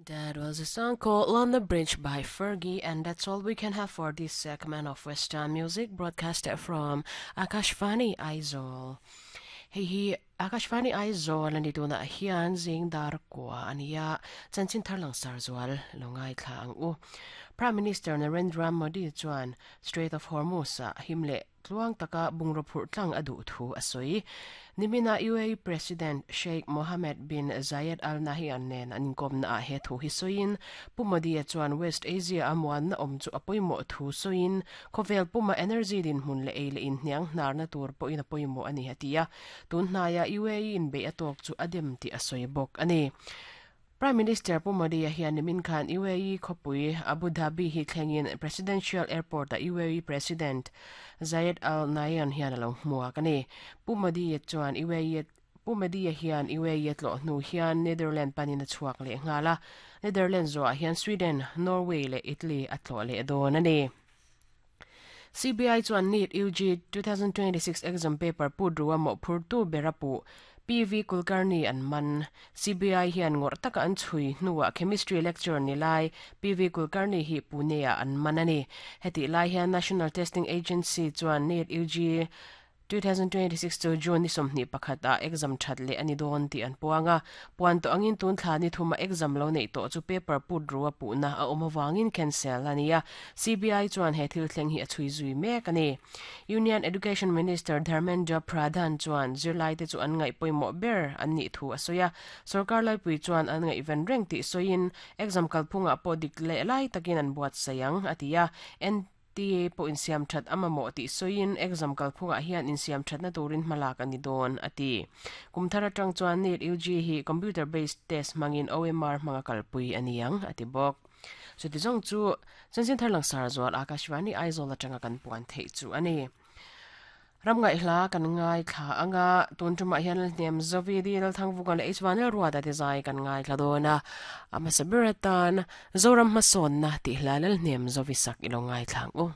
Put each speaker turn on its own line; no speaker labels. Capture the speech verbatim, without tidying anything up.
That was a song called London Bridge by Fergie, and that's all we can have for this segment of Western music broadcasted from Akashvani Aizawl. Hei hi Akashvani Aizawl ani tuna hian zing dar kwa ania chanchin tharlang sarzual longai thla ang u. Prime Minister Narendra Modi chuan Strait of Hormuz a himle tluang taka bungro phur tlang adu thu asoi nimina U A E President Sheikh Mohammed bin Zayed Al Nahyan nen an kom na a he thu hi soin Pu Modi chuan West Asia amwan na om chu apoimo thu soin khovel puma energy din hun le eile in hniang hnar na tur po in apoimo ani hatia tun hnaya U A E in be atok chu adem ti asoi bok ani Prime Minister Pu Modi hian nimin khan U A E khopui Abu Dhabi hi thlengin Presidential Airport a U A E President Zayed Al Nahyan hian alo hmuak ani Pu Modi chuan U A E Pu Modi hian U A E tlo hnu hian Netherlands panin a chuak le ngala Netherlands zo hian Sweden, Norway le Italy a tlo le don ani C B I chuan NEET U G twenty twenty-six exam paper pudruwa mo phurtu berapu P V Kulkarni an man C B I hian ngor taka an chui hnuwa chemistry lecture ni lai P V Kulkarni hi Pune a an manani heti lai hian National Testing Agency chuan NEET U G twenty twenty-six to June ni somni pakhata exam thatle ani don ti an puanga puan to angin tun thla ni thuma exam lo nei to chu paper put ruwa pu na a omawangin cancel ania C B I chuan he thil thleng hi a chui zui mek ani Union Education Minister Dharmendra Pradhan chuan zirlai te chu an ngai poimo ber an ni thu asoya sarkar lai pui chuan an ngai ven reng ti soin exam kalphunga po dik le lai takin an buat sayang atia N T A po in siam that amamo ti soin exam kalphunga hian in siam that na turin malak ani don ati kumthara tang chuan NEET U G hi computer based test mangin O M R manga kalpui aniang ati bok so ti jong chu chanchin tharlang sar zual Akashvani Aizawl atanga kan puan thei chu ani ramngai hla kan ngai thla anga tun tuma hian nem zovi di lal thang vukan le h one l ruwa da te zai kan ngai thla dona ama sabiratan zoram mason na ti hla lal nem zovi sak ilo ngai thlang u.